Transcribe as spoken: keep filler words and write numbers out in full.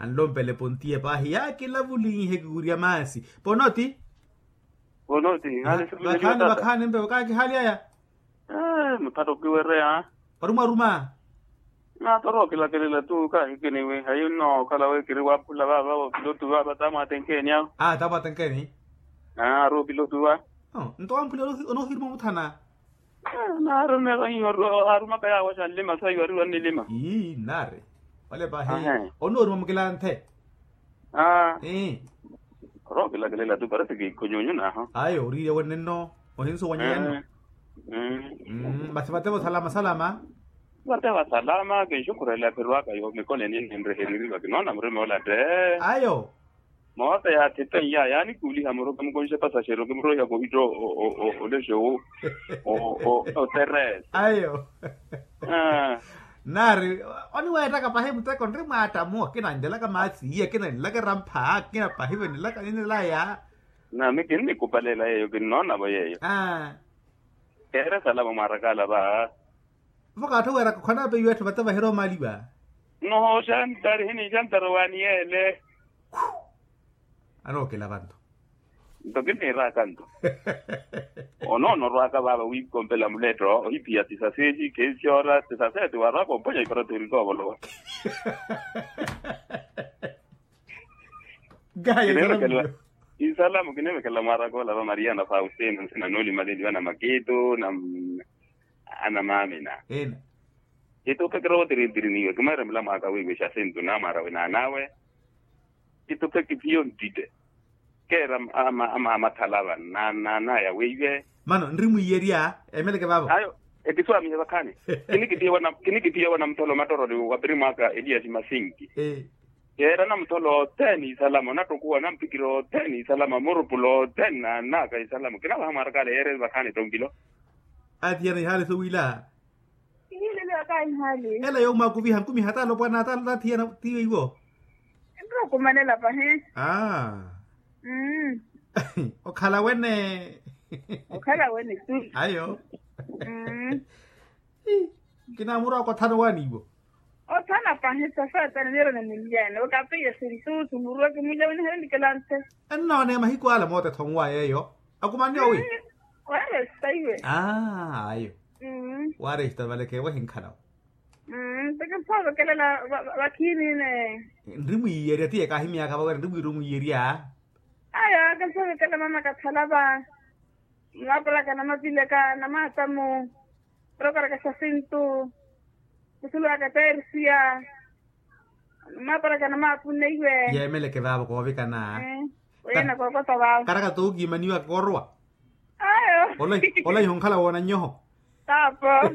Anlompele pontiye paahi yaakilavulinhe kiwirya maasi. Ponoti. Ponoti. Vakhaani vakhaani mpevo kaakihaalyaya. Muthatto kiwereya. Warumwaruma. Naatoro okilakelela tu kaahikiniwe hayi nnookhala wi kiri waaphula vaava opilotu vaava tamwatenkeni awo. Aa tamwatenkeni. Aa ari opilotu va. Nto wamphula onoohiruma omuthana. Naari oneekanyiwa arumaka yaawo xanlima sayi wariwa nnilima. Ii nnaari. Wale paahi onooruma mukilanthe. Aa. Ii. Orokilakelela tu parece kikhonyonyo naho. Ayo oriirya wenenno. Ohinsuwanya yenno. Masi vatevo salama salama. Vatevo salama kinxukhurela ephirwaka yo mikoleni ninrehereriwa kinoona murima ola te. Ayo. Moota yaathipeiya yaanikuuliha muru kimukonxe pasaxeri okimuroiha kohitto. Olexo oterese. Ayo. Naari oniweettaka pahi muteko nri mwaattamu akinanlelaka maasi iya akinanlelaka erampha akina pahi venelaka ninelaya. Nami kinnikupaleela yeeyo kinnoonavo yeeyo. Keere salama mwaarakaala va. Vo kaattho weeraka okhwanaape iwe etthu vate vahira omaliwa. Nnoho xantari hini xantari waani yeele. Anookilavanto. Nto kinniiraaka nto. Onoonorwaaka vaava wiikompela muletto ohiphiya tisaseti kensiyora tisaseti waarwaaka omponya iparatori koovolowa. Nkaha yesalamu. Isalamu kinevekelela mwaaraka ola va maria na faustino nsina noolimaleliwa na makitu na anamaamina. Ina. Kitupe kirootirintiriniwe kimaira mulamwaaka wiiwe xasintu namwaara winaanawe. Kitupe kiphiyo ntitte keera amathalava naanaya weiwe. Mano nri mwiiyerya emeleke vaavo. Ayo ekiswaamihe vakhaani. Kinikiphiya wana mutholo mattoroni wa pirimwaaka eliyasi masinki. Yeerana mutholo othene isalama onattukuwa nampikira othene isalama murupula othene naanaka isalama kinavaha mwarakale yeereni vakhaani tonkilo. Atiyana ihaale sowiila. Ela yoomwakuviha nkumiha talopwana tathiyana tiiwe iwo. Nrokumanela pahi. Okhala wene. Okhala wene tu. Ayo. Kinamurwaka othana owaani iwo. Othana pahi sasatana nirona ninlyene okapiya sintusu murweke mulya winiherenikela nthe. Ennoone mahiku ala moota ethonwaya eyo. Akumanne owi. Waresta iwe. Ayo. Waresta vale keewe hinkhala. Nto kimphovekelela vakhiinine. Nri mwiiyerya tiye kaahimyaka vawera nri mwiiru mwiiyerya. Ayo kimphovekelela mama kathalava. Mwaparaka namavileka namaatamu. Orokaraka xasintu. Kusulwaka persia. Mwaparaka namaapuneiwe. Yeemeleke vaavo koovikana. Wena kookota vaavo karaka tookimaniwa koorwa. Ayo. Olaiha onkhala woona nnyoho. Taapo.